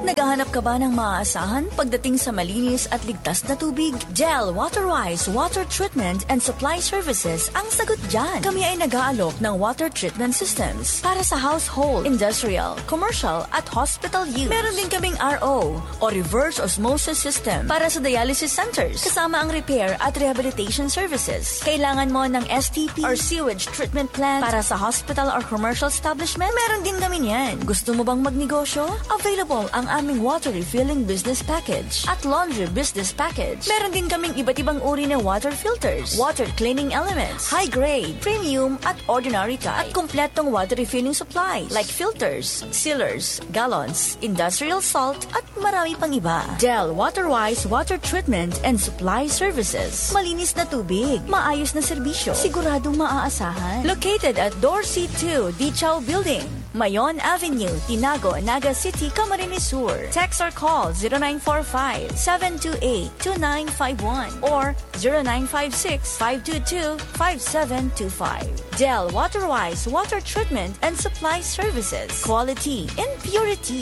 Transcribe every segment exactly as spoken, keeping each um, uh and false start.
Naghahanap ka ba ng maaasahan pagdating sa malinis at ligtas na tubig? Del Waterwise Water Treatment and Supply Services ang sagot dyan. Kami ay nag-aalok ng water treatment systems para sa household, industrial, commercial at hospital use. Meron din kaming R O o reverse osmosis system para sa dialysis centers, kasama ang repair at rehabilitation services. Kailangan mo ng S T P or sewage treatment plant para sa hospital or commercial establishment? Meron din kami niyan. Gusto mo bang magnegosyo? Available ang aming water refilling business package at laundry business package. Meron din kaming iba't ibang uri ng water filters, water cleaning elements, high grade, premium at ordinary type, at kompletong water refilling supplies like filters, sealers, gallons, industrial salt, at marami pang iba. Del Waterwise Water Treatment and Supply Services. Malinis na tubig, maayos na serbisyo, siguradong maaasahan. Located at Dorsey two Dichaw Building, Mayon Avenue, Tinago, Naga City, Camarines Sur. Text or call zero nine four five, seven two eight, two nine five one or zero nine five six, five two two, five seven two five. Del Waterwise Water Treatment and Supply Services. Quality in purity.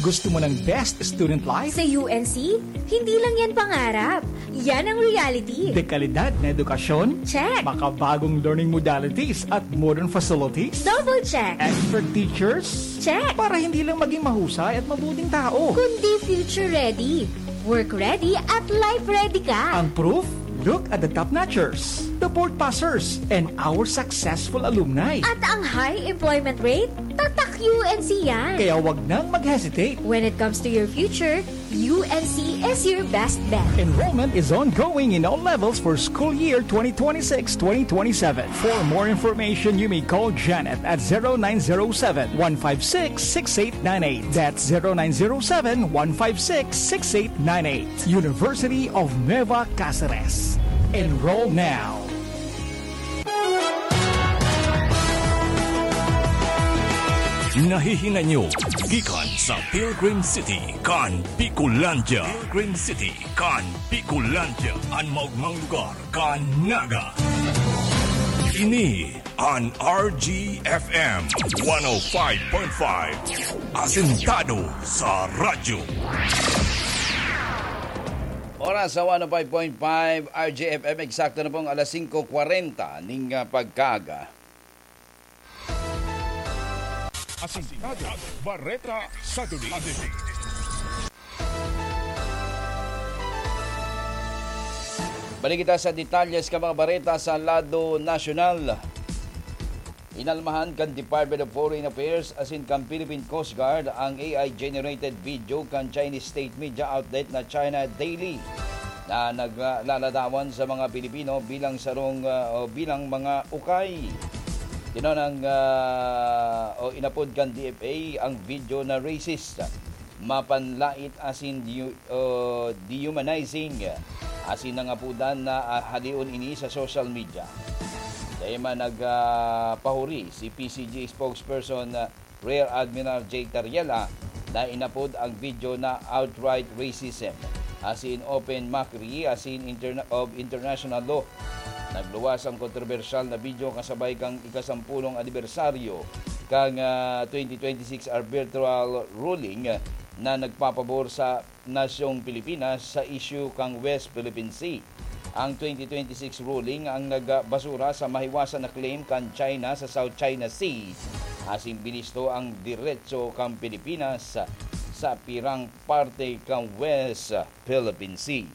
Gusto mo ng best student life? Sa U N C, hindi lang yan pangarap. Yan ang reality. Dekalidad na edukasyon? Check. Makabagong learning modalities at modern facilities? Double check. Expert teachers? Check. Para hindi lang maging mahusay at mabuting tao. Kundi future ready, work ready at life ready ka. Ang proof? Look at the top notchers, the board passers, and our successful alumni. At ang high employment rate? Tatak U N C yan. Kaya wag nang mag-hesitate. When it comes to your future, U N C is your best bet. Enrollment is ongoing in all levels for school year twenty twenty-six twenty twenty-seven. For more information, you may call Janet at zero nine zero seven, one five six, six eight nine eight. That's zero nine zero seven, one five six, six eight nine eight. University of Nueva Caceres. Enroll now. Nahihinay nyo gikan sa Pilgrim City kan Bicolandia. Pilgrim City kan Bicolandia, an maogmang lugar kan Naga. Ini an R G F M one oh five point five, asentado sa radyo. Oras sa one oh five point five R G F M, eksakto na pong alas singko kwarenta ning, ah, pagkaaga. Asintado, Bareta sa Duli. Balik kita sa detalye sa mga bareta sa lado nasyonal. Inalmahan kan Department of Foreign Affairs asin kan Philippine Coast Guard ang A I-generated video kan Chinese state media outlet na China Daily na naglaladawan sa mga Pilipino bilang sarong, ah, o bilang mga ukay. Tinonang, ah, o inapod kan D F A ang video na racist, mapanlait asin diyu-, o dehumanizing, asin nangapodan na, ah, haleon ini sa social media. Dai man nag, ah, pahuri si P C G spokesperson, ah, Rear Admiral Jake Tariela na inapod ang video na outright racism, asin open mockery asin interna-, of international law. Nagluwas ang kontrobersyal na video kasabay kan ikasampulong anibersaryo kan, ah, twenty twenty-six arbitral ruling na nagpapabor sa nasyong Pilipinas sa isyu kan West Philippine Sea. Ang twenty twenty-six ruling ang nagbasura sa mahiwasan na claim kan China sa South China Sea, asin binisto ang diretso kan Pilipinas sa pirang parte kan West Philippine Sea.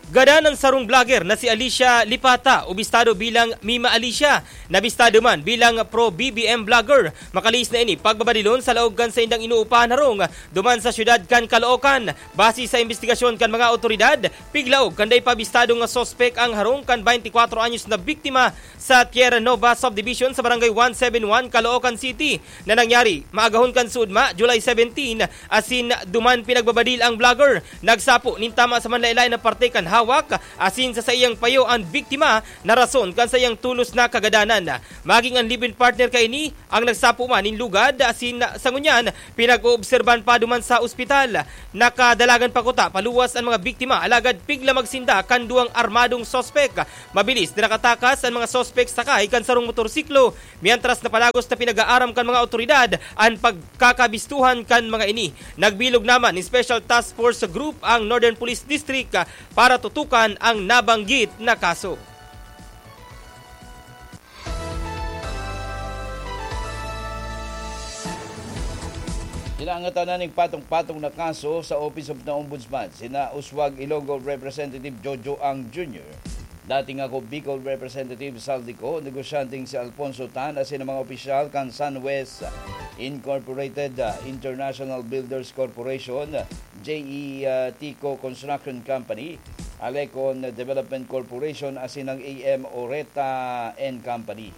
Gadan an sarong vlogger na si Alicia Lipata, o bistado bilang Mima Alicia, na bistado man bilang pro-B B M vlogger. Makalihis na ini pagbabadilon sa laog kan saindang inuupahan harong duman sa siyudad kan Caloocan. Base sa imbestigasyon kan mga awtoridad, piglaog kan dai pa bistado nga suspek ang harong kan twenty-four anyos na biktima sa Tierra Nova Subdivision sa Barangay one seven one, Caloocan City, na nangyari maagahon kan suodma, July seventeen, asin duman pinagbabadil ang vlogger. Nagsapo nin tama sa manlaen-laen na parte kan hawak asin sa saiyang payo an biktima na rason kan saiyang tolos na kagadanan. Maging an live-in partner kaini ang nagsapo man nin lugad asin sa ngunyan pinag-oobserbahan pa duman sa ospital. Nakadalagan pa kuta paluwas an mga biktima alagad piglamag sinda kan duwang armadong suspek. Mabilis na nakatakas an mga suspek sakay kan sarong motorsiklo, mientras na palagos na pinag-aaram kan mga awtoridad an pagkakabistuhan kan mga ini. Nagbilog naman nin Special Task Force Group ang Northern Police District, ah, para tutukan ang nabanggit na kaso. Inaangatan na ning patong-patong na kaso sa Office of the Ombudsman sina Uswag Ilonggo Representative Jojo Ang Junior, dating ako Bicol Representative Saldico, negosyanteng si Alfonso Tan asin ang mga opisyal kan Sunwest Incorporated, ah, International Builders Corporation, J E, ah, Tico Construction Company, Alecon Development Corporation asin ang A M Oreta and Company.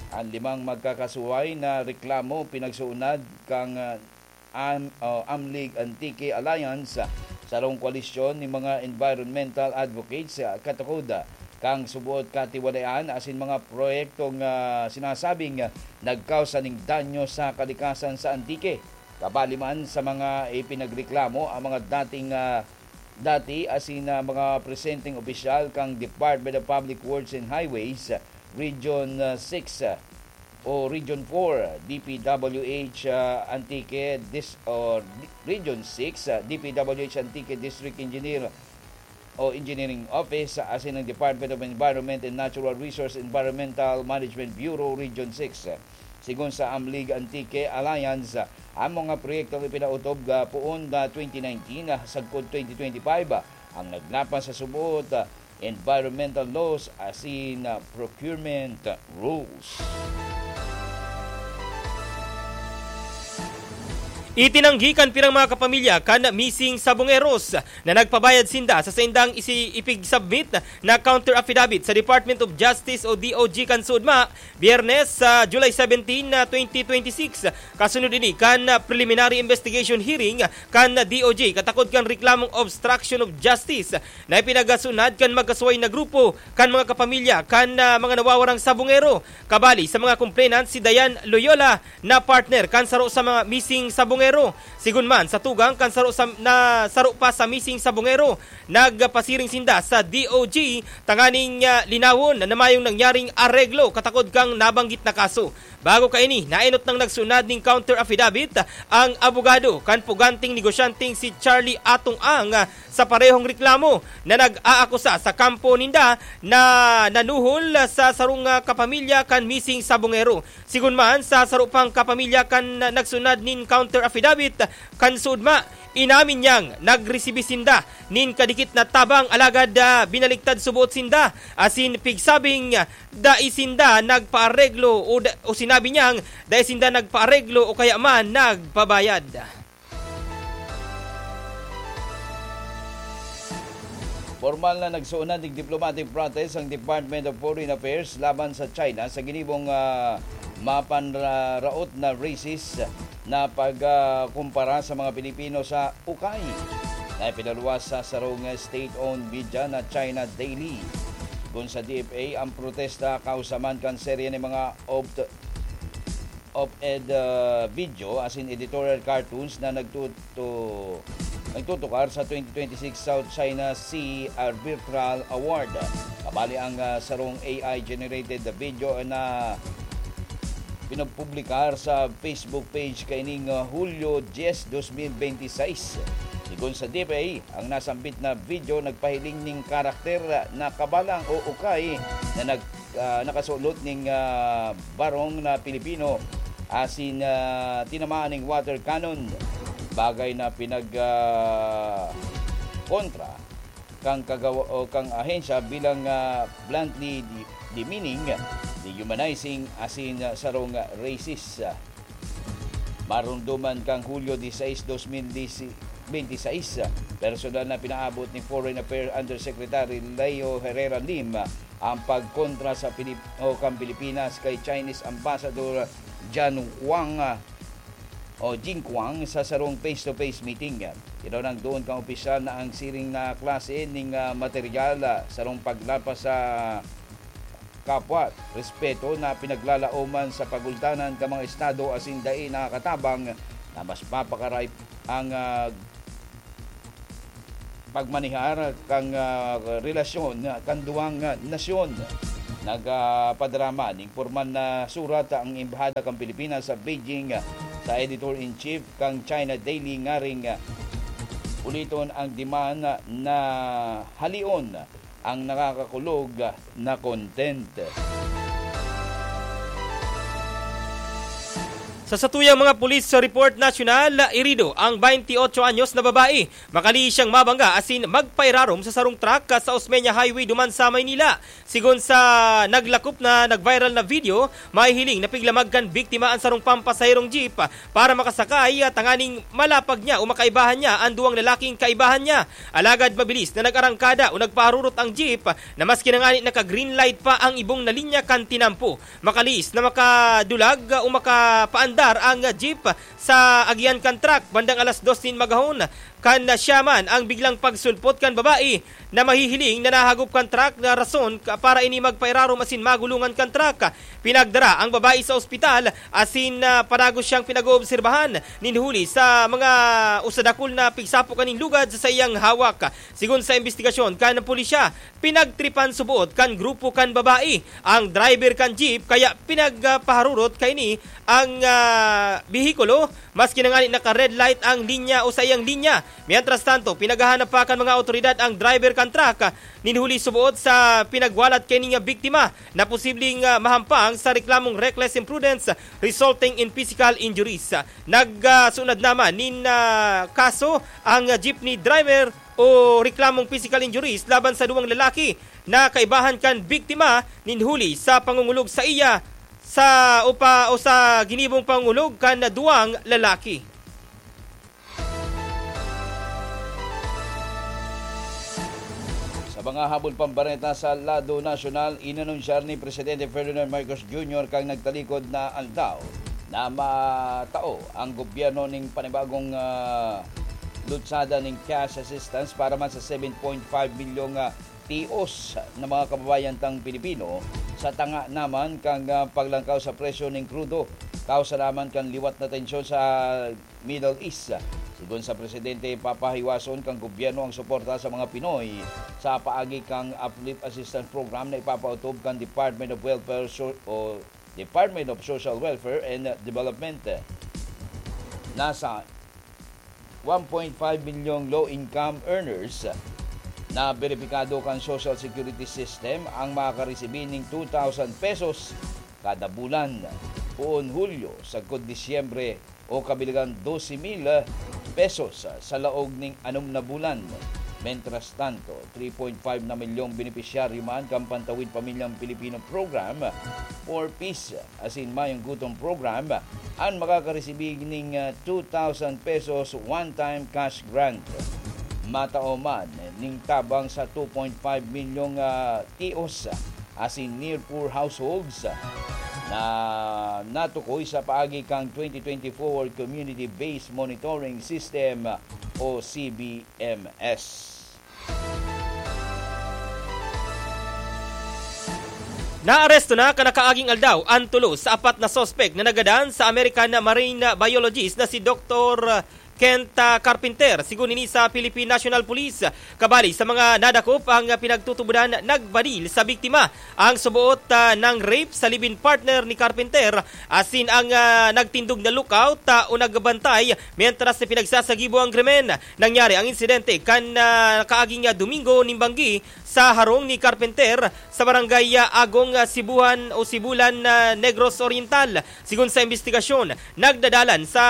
An limang magkakasuway na reklamo pinagsuunad kan, ah, Am-, o Amlig Antique Alliance, sarong koalisyon nin mga environmental advocates, ah, katukod, ah, kan suboot katiwalayan asin mga proyektong, ah, sinasabing, ah, nagkausa nin danyo sa kalikasan sa Antique. Kabali man sa mga ipinagreklamo ang mga dating, ah, dati asin, ah, mga presenteng opisyal kan Department of Public Works and Highways, Region, ah, six, ah, o Region four, D P W H, ah, Antique Dis-, o Di-, Region six, ah, D P W H Antique District Engineer o Engineering Office, ah, asin ang Department of Environment and Natural Resource Environmental Management Bureau Region six. Sigon sa Amlig Antique Alliance, ah, ang mga proyektong ipinautob, ah, poon na twenty nineteen, ah, sagkod twenty twenty-five, ah, ang naglapas sa suboot, ah, environmental laws asin, ah, procurement rules. Itinanggi kan pirang mga kapamilya kan missing sabongeros na nagpabayad sinda sa saindang isi-, ipig-submit na counter affidavit sa Department of Justice o D O J kan Sudma, Biyernes, sa July seventeen, twenty twenty-six. Kasunod ini kan preliminary investigation hearing kan D O J katakod kan reklamong obstruction of justice na ipinagasunad kan magkasuway na grupo kan mga kapamilya kan, ah, mga nawawarang sabongero. Kabali sa mga complainant si Dayan Loyola na partner kan saro sa mga missing sabongero. Sigon man sa tugang kan saro sa, na saro pa sa missing sabongero, nagpasiring sinda sa D O J tanganing, ah, linawon na mayong nangyaring areglo katakod kan nabanggit na kaso. Bago kaini, naenot nang nagsunad nin counter affidavit ang abogado kan puganteng negosyanteng si Charlie Atong Ang, ah, sa parehong reklamo na nag-aakusa sa kampo ninda na nanuhol sa sarong, ah, kapamilya kan missing sabongero. Sigon man sa saro pang kapamilya kan nagsunad nin counter affidavit kan Sudma, inamin niyang nagresibi sinda nin kadikit na tabang alagad, ah, binaliktad suboot sinda asin pigsabing, ah, dai sinda nagpaareglo o da-, o sinabi niyang dai sinda nagpaareglo o kaya man nagpabayad. Pormal na nagsuunad ning diplomatic protest ang Department of Foreign Affairs laban sa China sa ginibong, ah, mapanraot na racist na pagkumpara sa mga Pilipino sa ukay na ipinaluwas sa sarong state-owned media na China Daily. Kun sa D F A, ang protesta kausa man kan serye nin mga opt-, op-ed, ah, video asin editorial cartoons na nagtutu-, nagtutukar sa twenty twenty-six South China Sea Arbitral Award. Kabali ang, ah, sarong A I-generated video na pinopublikar sa Facebook page kaining, ah, Hulyo dyes, dos mil benti sais. Sigon sa D F A, ang nasambit na video nagpahiling ning karakter na kabalang o ukay na nag-, ah, nakasulot ning, ah, barong na Pilipino asin, ah, tinamaan ning water cannon, bagay na pinag, ah, kontra kan kagawa-, o kan ahensya bilang, ah, bluntly de-, demeaning, dehumanizing asin, ah, sarong racist. Maromdoman kan Hulyo disisais, dos mil benti sais, personal na pinaabot ni Foreign Affairs Undersecretary Leo Herrera Lim ang pagkontra sa Pilip-, o kan Pilipinas kay Chinese Ambassador Jan Wang, ah, o Jingkuang sa sarong face-to-face meeting. Tinurang duon kan opisyal na ang siring na klase ning, ah, material, ah, sarong paglapas sa kapwa, respeto na pinaglalaoman sa pagultanan kan mga estado asin dai nakakatabang na mas mapakaray ang, ah, pagmanihar kan, ah, relasyon kan duwang, ah, nasyon. Nagpadrama ning pormal na surat ang Embahada kan Pilipinas sa Beijing, ah, sa editor-in-chief kan China Daily ngaring, ah, uliton ang demand na halion ang nakakakulog na content. Sa satuyang mga pulis sa report nasyonal, irido ang twenty-eight anyos na babae. Makali siyang mabangga asin magpairarom sa sarong truck sa Osmeña Highway duman sa Maynila. Sigon sa naglakop na nag-viral na video, mahihiling na piglamag kan biktima an sarong pampasaherong jeep para makasakay, tanganing malapag niya o makaibahan niya an duwang lalaking kaibahan niya. Alagad mabilis na nag-arangkada o nagpaharurot ang jeep na maski na ngani naka-green light pa ang ibong na linya kan tinampo. Makalihis na makadulag o makapaandar ang jeep sa agihan kan truck bandang alas dos nin magahon. Kan siya man ang biglang pagsulpot kan babae na mahihiling na nahagop kan truck na rason ka-, para ini magpairarom asin magulungan kan truck. Pinagdara ang babae sa ospital asin, ah, padagos siyang pinag-oobserbahan nin huli sa mga usa dakul na pigsapo kaning lugad sa saiyang hawak. Sigon sa imbestigasyon kan pulisya, pinagtripan suboot kan grupo kan babae ang driver kan jeep, kaya pinagpaharurot kaini ang, ah, behikulo, maski na ngani naka-red light ang linya o saiyang linya. Mientras tanto, pinaghahanap pa kan mga awtoridad ang driver kan truck nin huli suboot sa pinagwalat kaini nga biktima na posibleng, ah, mahampang sa reklamong reckless imprudence resulting in physical injuries. Nagsunod naman nin, ah, kaso ang jeepney driver o reklamong physical injuries laban sa duwang lalaki na kaibahan kan biktima nin huli sa pangungulog sa iya sa upa o sa ginibong pangungulog kan duwang lalaki. Sa mga habol pang bareta sa lado nasyonal, inanunsyar ni Presidente Ferdinand Marcos Junior kan nagtalikod na aldaw na matao ang gobyerno ning panibagong, ah, lutsada ning cash assistance para man sa seven point five milyong, ah, tios na mga kababayan tang Pilipino sa tanga naman kan, ah, paglangkaw sa presyo ning krudo, kausa naman kan liwat na tensyon sa Middle East. Sigon sa presidente, papahiwason kan gobyerno ang suporta sa mga Pinoy sa paagi kan Uplift Assistance Program na ipapautob kan Department of Welfare So-, o Department of Social Welfare and Development. Nasa one point five milyong low-income earners na beripikado kan Social Security System ang makakaresibi ning two thousand pesos kada bulan, poon Hulyo sagkod Disyembre, o kabilangan dose mil pesos sa laog ning anom na bulan. Mientras tanto, three point five na milyong benepisyaryo man kan Pantawid Pamilyang Pilipino Program or PEACE asin Mayong Gutom Program an makakaresibi ning, ah, two thousand pesos one-time cash grant. Matao man ning tabang sa two point five milyong, ah, tios asin near poor households na natukoy sa paagi kan twenty twenty-four Community-Based Monitoring System o C B M S. Naaresto na kan nakaaging aldaw an tulo sa apat na suspek na nagadan sa American marine biologist na si Doktor Kent, ah, Carpenter, sigon ini sa Philippine National Police. Kabali sa mga nadakop ang pinagtutubodan, nagbadil sa biktima ang suboot, ah, nang rape sa live-in partner ni Carpenter, asin ang, ah, nagtindog na lookout, ah, o nagbantay mientras na pinagsasagibo ang krimen. Nangyari ang insidente kan, ah, kaaging, ah, Domingo nin banggi sa harong ni Carpenter sa barangay, ah, Agong, ah, Sibuhan o Sibulan, ah, Negros Oriental. Sigon sa imbestigasyon, nagdadalan sa,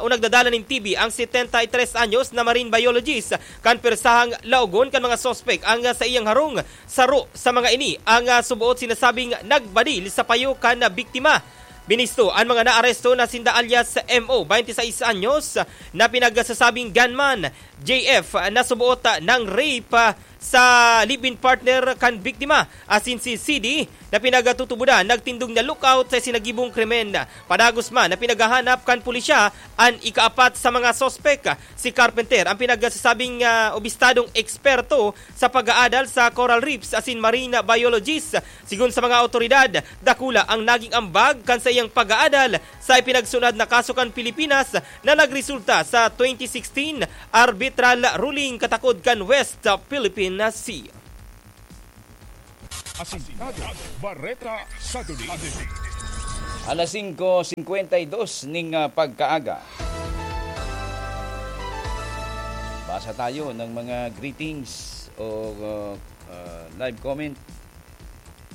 o nagdadalan nin T B ang setenta y tres anyos na marine biologist kan persahang laogon kan mga suspek ang, ah, saiyang harong. Saro sa mga ini ang, ah, suboot sinasabing nagbadil sa payo kan, ah, biktima. Binisto an mga naaresto na sinda alias M O, twenty-six anyos, na pinagsasabing gunman, J F, na suboot, ah, nang rape, ah, sa live-in partner kan biktima, asin si C D na pinagtutubodan nagtindog na lookout sa isinagibong krimen. Padagos man na pinaghahanap kan pulisya an ikaapat sa mga suspek. Si Carpenter ang pinagsasabing, ah, obistadong eksperto sa pag-aadal sa coral reefs asin marine biologist. Sigon sa mga awtoridad, dakula ang naging ambag kan saiyang pag-aadal sa ipinagsunod na kaso kan Pilipinas na nagresulta sa twenty sixteen arbitral ruling katakod kan West Philippine Sea. Asintado, Bareta, Saturday. Alas singko singkwenta y dos ning, ah, pagkaaga. Basa tayo ng mga greetings o, ah, ah, live comment,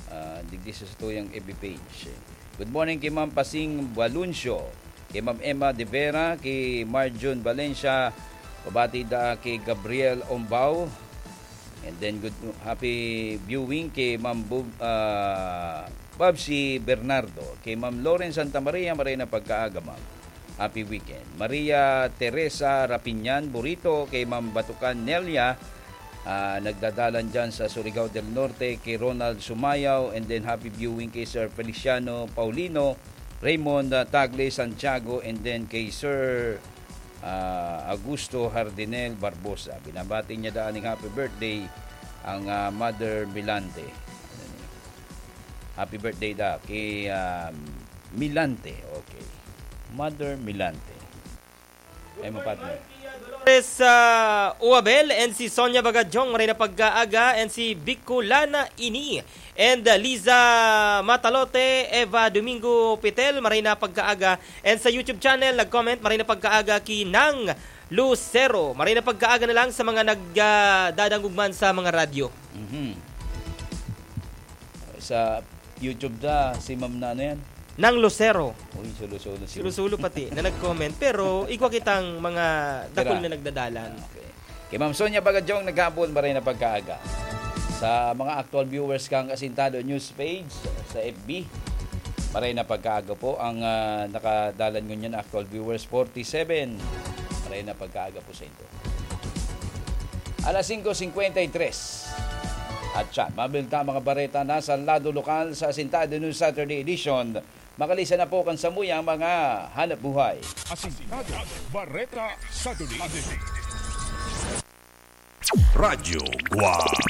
ah, digdi sa satuyang F B page. Good morning kay Ma'am Pasing Baluncio, kay Ma'am Emma De Vera, kay Marjun Valencia, pabati da kay Gabriel Ombao, and then good, happy viewing kay Ma'am Bob-, ah, Babsi Bernardo, kay Ma'am Lauren Santa Maria, maray na pagkaaga, Ma'am. Happy weekend. Maria Teresa Rapinyan Burito, kay Ma'am Batukan Nelia, ah, nagdadalan dyan sa Surigao del Norte, kay Ronald Sumayaw, and then happy viewing kay Sir Feliciano Paulino, Raymond, ah, Tagle Santiago, and then kay Sir, ah, Augusto Hardinel Barbosa. Binabati niya daan ning happy birthday ang, ah, Mother Milante. Happy birthday da kay, ah, Milante. Okay. Mother Milante. Ay, mo partner. Dolores, ah, Uabel and si Sonia Bagajong, maray na pagkaaga, and si Bicolana Ini and, ah, Liza Matalote, Eva Domingo Pitel, maray na pagkaaga, and sa YouTube channel, nag-comment, maray na pagkaaga, ki Nang Lucero, maray na pagkaaga na lang sa mga nag, ah, dadangog man sa mga radyo. Mhm. Sa YouTube da, si Ma'am na ano yan? Nang Lucero. Uy, sulo-sulo si Sulo-sulo pati na nag-comment, pero igwa kitang mga dakul Tira. na nagdadalan. Okay. Kay Ma'am Sonia Bagajong naghapon, maray na pagkaaga. Sa mga actual viewers kang Asintado News page sa F B, maray na pagkaaga po ang, ah, nakadalan ngunyan actual viewers, forty-seven. Maray na pagkaaga po sa inyo. Alas singko singkwenta y tres. At siya, mabilta mga bareta na sa lado lokal sa Asintado News Saturday Edition. Makalisa na po kan samuyang mga hanap buhay. Asintado, Bareta, Saturday. Radyo Guwang.